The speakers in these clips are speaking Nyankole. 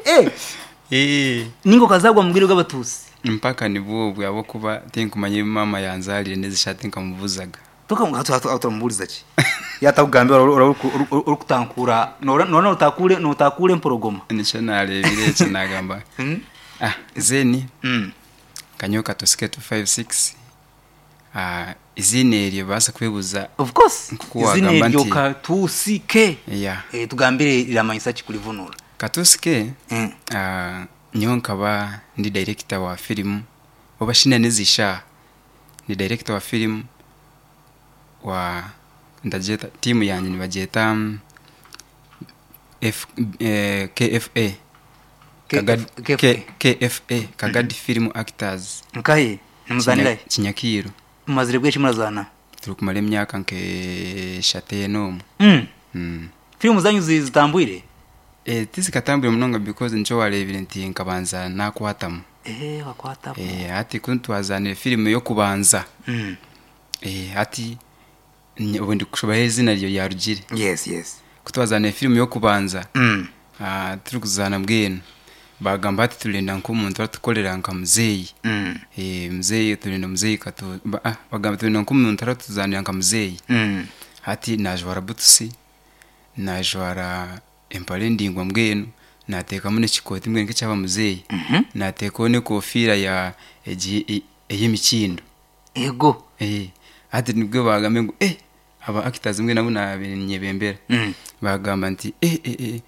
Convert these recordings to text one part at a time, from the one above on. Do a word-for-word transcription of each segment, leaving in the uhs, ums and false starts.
Eh, Eh, ninga okazagwa mu bwire bw'abatuusi. Mpaka nibwo obwo ahabwokuba tinkumanya ebi maama yanzarire n'ezishati nkamubuzaga. Turamubuuriza ki yatakugambira? Orikutankura noona notakure notakura emporogoma. Nikyo narebire ekyo nagamba, Mm. ah, then Mm. kanyowe Katusi K two five six. Ah, izina eryo baasa kwebuza. Of course. Nkuko izina wagamba eryo nti- Katusi K. Yeah. Eh, tugambire riramanyisa ki kurivunura. Katusi K, Mm. ah, nyowe nkaba ndi director wa filimu oba shina n'ezishaha ni director wa filimu wa ndagyeta tiimu yangye nibagyeta mm, F, eh, K F A. Kagadi- K F A. K- K F A, Kagadi Film Actors. Nkahe nimuzanirahe? Kinya- kinyakiiro Mumazire bweki murazana? Turi kumara emyaka nk'eshatu ena omwe. Mm. mm. Filimu zanyu zi- zitambwire? Eh, tizikatambwire munonga because nikyo warebire nti nkabanza nakwatamu. Eh, wakwatamu. Eh, hati ku twazanire filimu y'okubanza, Mm. eh, hati nye- ubu ndi kushobaho izina ryo ryarugire. yes yes Ku twazanire filimu y'okubanza, Mm. ah, turi kuzaana mbwenu bagamba ati turenda nk'omuntu aratukorera nka muzeeyi. Mm. Eh, muzeeyi turenda muzeeyi katu ba, ah, bagamba turenda nk'omuntu aratuzanira nka muzeeyi. Mm. Hati najwara butusi, najwara empare ndingwa, mbwenu nateekamu n'ekikooti mbwenu nk'ekyaba muzeeyi, Mhm. nateekaho n'ekofiira ya egi e- ey'emikindo. Ego. Eh, hati nibwo bagambe ngu eh, aba actors mbwenu nabo nabinyebembera, Mm. bagamba nti eh, eh, eh,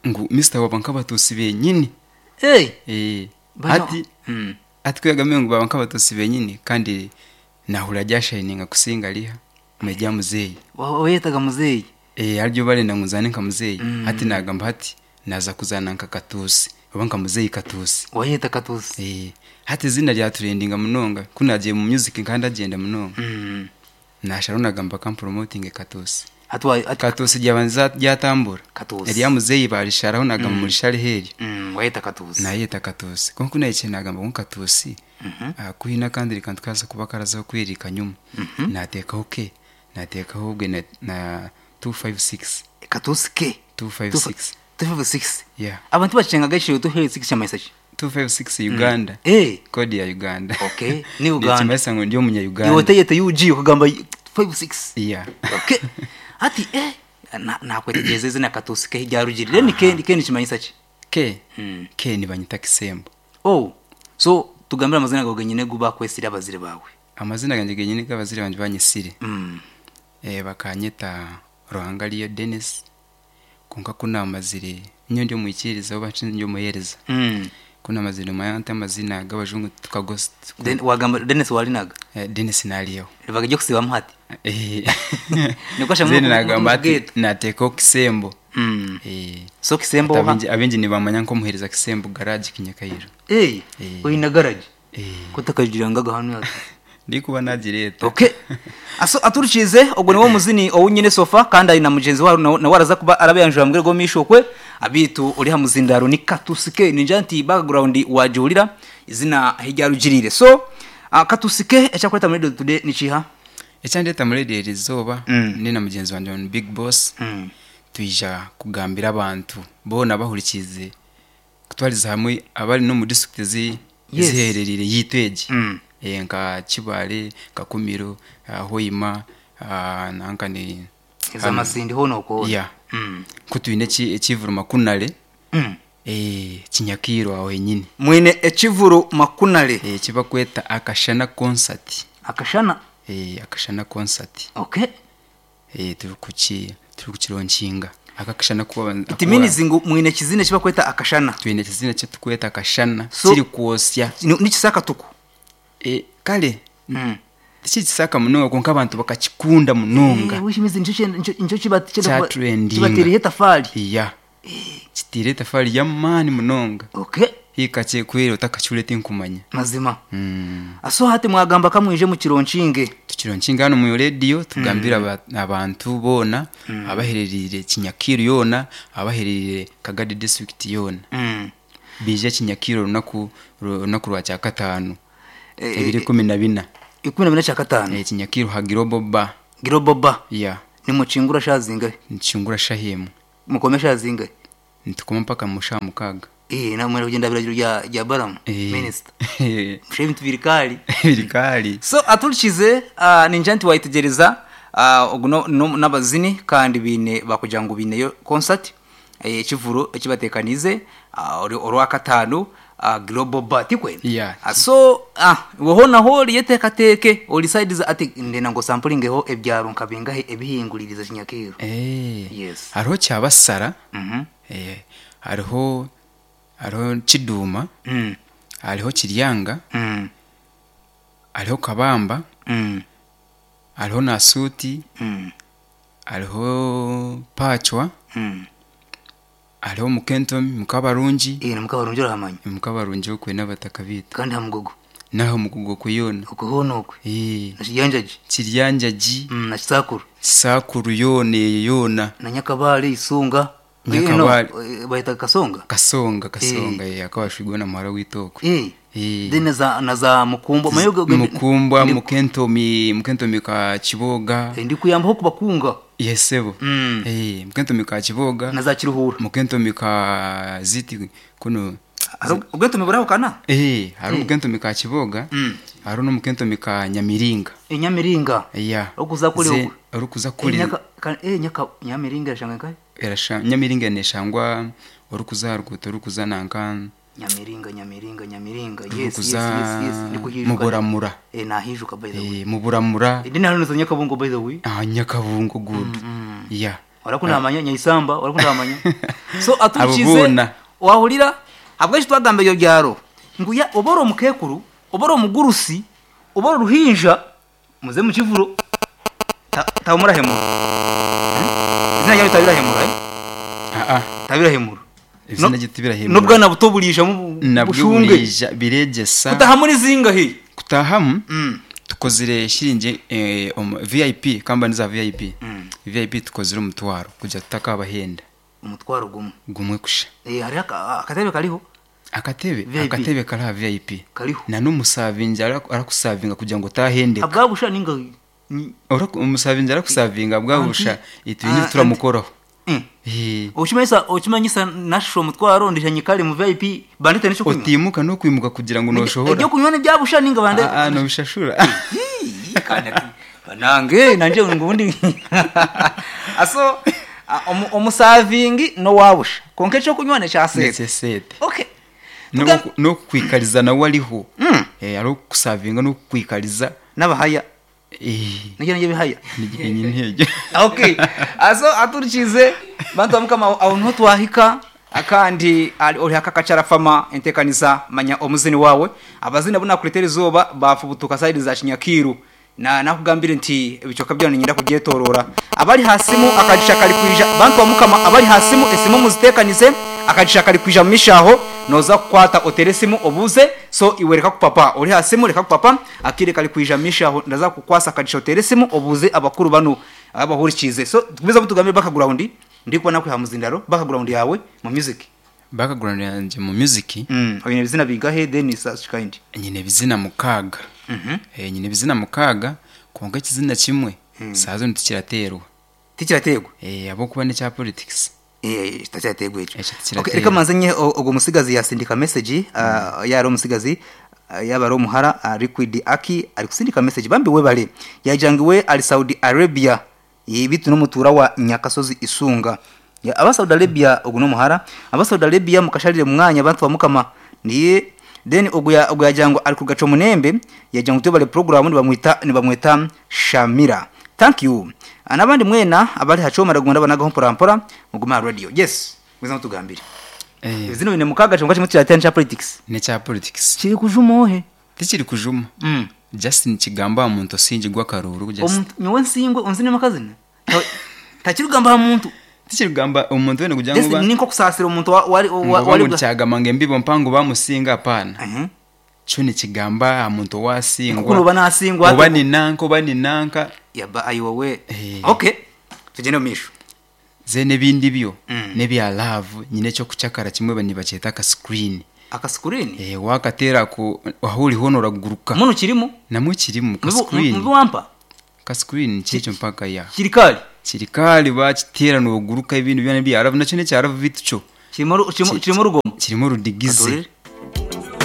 ngu mister waba nk'abatuusi benyini. Hey. Eh, Bano- hati Mm. ati kwegambe ngu baba nk'abatuusi benyini kandi nahura ryashininga kusinga riha mwe muzeeyi. Wa- wayetaga muzeeyi. Eh, aryo barenda ngu nzane nka muzeeyi. Mm. Hati nagamba hati naza kuzana nka Katuusi oba nka muzeeyi Katuusi. Wayeta Katusi. Eh, hati izina ryaturendinga munonga kunagiye mu music kandi agenda munonga, Mm. nasharo nagamba kam promoting Katuusi. Hati wa- hati Katuusi ryabanza ryatambura. Katusi. Erya muzeeyi barisharaho nagamba murishare heryo. Mm, wayeta Katusi. Nayeta Katuusi konka nayikiye nagamba ngu Katuusi, Mhm. ah, kuhina kandi reka tukaza kuba karazaho kwirika nyuma, Mhm. nateekaho ke nateekaho ubwe na, na two five six. Katusi K two five six. two five six. Yeah. Abantu bacengaga ekiro two five six kyamanyisa ki? two five six Uganda. Eh. Kodi ya Uganda. Okay, ni Uganda. Nikimanyisa ngu ndi omunya Iwe Uganda. oteyete U G okugamba five six. Yeah. Okay, ati eh na- nakwetegereza izina Katusi K ryarugirire then ke ke nikimanyisa ki? Ke Mm. ke nibanyita Kisembo. Oh, so tugambire amazina gawe genyine gu bakwesire abazire bawe. Amazina ganje genyine g'abazire banje banyisire, mm. eh, bakanyeta Ruhangariyo Dennis, konka kunamazire nyo ndi omwikiriza oba ndi omuhereza, Mm. kunamazire mayante amazina g'abajungu tukagos. Then wagamba Dennis walinaga? eh, Dennis naliyeho. Ribaga ryo kusibamu hati. Eh. Niko ashamu. Then nagamba ati getu. nateekaho Kisembo. Mm. Eh, so Kisembo ati oha? abingi- abingi nibamanya nk'omuhereza Kisembo garage Kinyakayiro. Eh, Eh. oyina garage? Eh. Kutakagira hano yati. Ndikuba nagireta. Okay, aso aturikize ogwo niwo muzini owunyine sofa kandi ari na mugenzi wawe nawe nawe araza kuba arabeyanjura mbwire go mishokwe abitu uri ha muzindaro ni Katusike ninja nti background wajurira izina hirya rugirire. So uh, Katusike, ekyakuleta muri Radio Today ni kiha? Ekyandeta muri radio eri izooba, Mm. ndi na mugenzi wanje on Big Boss, mm. twija kugambira abantu boona bahurikize kutwariza hamwe abari no mu district zi Yes. zihererire yitu egi, Mm. eh, nka Kibale, Kakumiro, uh, Hoima, uh, nanka ni Ezamasindi hono okwo. Yeah. mm. Ko twine eki- ekivuru Makunare, mm. eh, Kinyakiro aho henyini. Mwine ekivuru Makunare? eh, kibakweta Akashana Concert. Akashana. eh, akashana Concert. Okay. eh, turi kuki turi kukilaunchinga aka kashana kuba It means ngu mwine kizina kibakweta Akashana. Twine kizina kyetukweta Akashana. So- Kiri kwosya. Ni- nikisaka tuku. eh, kale mm. tikikisaka munonga konka abantu bakakikunda munonga. Eh, which means nicho nicho nicho kiba Kyatrendinga. kibateriye tafali. Iya, kitiire etafari y'amaani munonga. Okay. Hika kyekwera otakakihurire tinkumanya. Mazima. mm. Aso hati mwagamba kamwije mu kilaunchinge. Tukilaunchinga hano mu radio tugambira aba- abantu boona abahererire Kinyakiru yoona, abahererire Kagadi District yoona, mm. bije Kinyakiro olunaku olunaku lwa kyakataano, Eh, ebiri kumi na bina. Ikumi na bina kya katano. Eh, Kinyakiru ha Giroboba. Giroboba. Ya. Nimuchingura shazingahe? Nikingura shahemu. Mukome shazingahe? Nitukoma mpaka mu shaaha mukaaga. Eh, namwe kugenda biragiro bya bya Balamu Eh. minister mushe ebintu biri kali. Biri kali. So aturikize uh, ninja nti wayitegereza uh, ogu no- no- n'abazini kandi bine bakugira ngu bineyo concert eh, ekivuro ekibatekanize uh, orwakataano uh, global bar tikwena? Yeah. Ah, so ah, weho naho oriyeteekateeke ori side ati ndenda ngo sampulingeho ebyaro nka bingahe ebihinguririza kinyakeero. Eh. Yes. Hariho Kyabasara. Mhm. Eh, hariho hariho Kiduma. Mm. Hariho Kiryanga. Mm. Hariho Kabamba. Mm. Hariho Nasuti. Mm. Hariho Pachwa. Mm. Hariho Mukentomi Mukabarungi. Eh, na Mukabarungi orahamanya? Mukabarungi okwe n'abataka bitu. Kandi ha Mugogo? Naho Mugogo kuyona. Okwe hoona okwe? Eh. Na Kiryanjagi? Kiryanjagi. Mm, na Kisakuru? Kisakuru yoona eyo yoona. Na Nyakabale, Isunga? Nyakabale. Eh, no, eh, bayita Kasonga? Kasonga, Kasonga, eh, akabashwigwa na muhara w'itoko. Eh. Eh. Then na za na za Mukumbwa. Mayo go- go- Mukumbwa, ndi- Mukentomi, Mukentomi ka Kiboga. Eh, ndi kuyambaho kubakunga. Yesebo. Mm. Eh, Mukentomi ka Kiboga. Na za Kiruhura. Mukentomi ka Ziti kuno. Ubwentomi burahukana? Eh, hari Eh. Mukentomi ka Kiboga. Mm. Hari n'Umukentomi ka Nyamiringa. Eh, Nyamiringa. Yeah. Okuza kuri Ze- okwe. Orukuza kuri. Eh, nyaka ka, eh, nyaka Nyamiringa shanga kai? Erasha Nyamiringa neshangwa orukuza rukuto orukuza nanka. Nyamiringa, Nyamiringa, Nyamiringa. Yes, yes, Orukuza yes, yes. Ndi kuhijuka. Muburamura. Eh, nahijuka by the way. Eh, Muburamura. Eh, dina hano za Nyakabungo by the way. Ah, Nyakabungo good. Mm. Yeah. Warakunda amanya Nyaisamba, warakunda amanya. So atukize Abubona. wahulira habweshi twagamba ibyo byaro. Nguya oboro mukekuru, oboro mugurusi, oboro ruhinja muze mu kivuro. Ta tabumurahemura. Eh? Izina ryawe tabirahemura, eh? Ah ah. Tabirahemura. Izina No- rye tabirahemura. N'ubwana buto burisha mu Nabwo bushunge. burisha biregesa. Kutaha muri zingahe? Kutahamu? Mm. Tukozire shiringi eh, um, V I P, company za V I P. Mm. V I P tukozire umutwaro kuja tutakabahenda. Umutwaro gumwe. Gumwe kusha. Eh, hari aka- akatebe kariho? Akatebe, V I P. akatebe kari ha V I P. Kariho. Na n'umusavinja arakusavinga kugira ngo utahendeka. Abwabusha ninga ni Ora umusavinja arakusavinga abwabusha itubintu Ah, turamukoraho. Mm. Eh. Okimanyisa, okimanyisa nashusha omutwaro ndishanye kare mu V I P bandite n'icyo kunywa. Otimuka no kwimuka kugira ngo noshobora. Ibyo kunywa n'ibyabusha ninga bande. Ah, ah, nobishashura. Hii, kandi ati, banange nanje ngundi. Aso omu, omusavingi no wabusha. Konke cyo kunywa ne cya sete. Nece sete. Okay. No Tuga- no kwikariza nawe ariho. Mm. Eh, ari kusavinga no kwikariza. N'abahaya. Eh. Nige nige bihaya. Nige nyine. Okay. Aso aturikize bantu bamukama aho niho twahika akandi ari ori hakakacara fama entekaniza manya omuzini wawe abazina buna kuretera izuba bafubutuka side za Kinyakiru na nakugambire nti ebicoka byo nyinda kubyetorora abari hasimu akajisha kali kwija bantu bamukama abari hasimu esimu muzitekanize akajisha kali kwija mishaho noza kukwata oteresimu obuze so iwereka kupapa ori hasimu reka kupapa akire kali kwija mishaho ndaza kukwasa akajisha oteresimu obuze abakuru bano abahurikize so tubiza butugambire background ndikuba nakwiha muzindaro background yawe mu music. Background yanje mu music. Mm, oyine bizina bigahe then such kind. Nyine bizina mukaga. Mhm. Eh, nyine bizina mukaga konka kizina kimwe. Mm. Sazo ntikiraterwa. Tikiraterwa. Eh, abo kuba ne cya politics. Eh, tikiraterwa echo. Eh, tikiraterwa. Okay, reka manze nye ogo musigazi yasindika message, uh, yaro musigazi uh, yaba ro muhara uh, Liquid Aki ari kusindika message bambi we bale. Yajangiwe ali Saudi Arabia. Ibitu n'umutura wa Nyakasozi Isunga. Ya aba Saudi Arabia ogo no muhara, aba Saudi Arabia mukasharire mwanya abantu bamukama niye then ogo ya ogo yajango ari kugaco munembe yajango tubale program ni bamwita ni bamwita Shamira. Thank you. Anabandi mwena abali hachoma ragunda banaga mpora mpora muguma radio. Yes, mwiza mutugambire. Eh. Zino bine mukaga cyo ngacyo mutira cha politics. Ne cha politics. Kiri kujumohe. Tikiri kujuma. Mm. Justin Kigamba muntu sinji gwa karuru just. Omuntu nyowe nsingwe onzine makazina. Takirugamba muntu. Tikirugamba umuntu wene kugira ngo ninko kusasira umuntu wari wari cyagama nge mbibo mpango bamusinga apana. Mhm. Cyo ni kigamba umuntu wasingwa. Kuko uba nasingwa. Uba ni nanka uba ni nanka. Yaba ayiwowe. Hey. Okay. Tugende misho. Zene bindi byo mm. nebya love nyine cyo kucakara kimwe bani baceta ka screen. Aka screen? Eh, wakatera ku ahuri hono raguruka. Muno kirimo? Namwe kirimo ka screen. Mubi wampa? Ka screen cyeco mpaka ya. Kirikali. Kirikali bakitera no guruka ibintu byane bya love nacyo ne cya love bituco. Kirimo ru- kirimo Ki- kirimo urugomo. Kirimo orudigize. Katurire.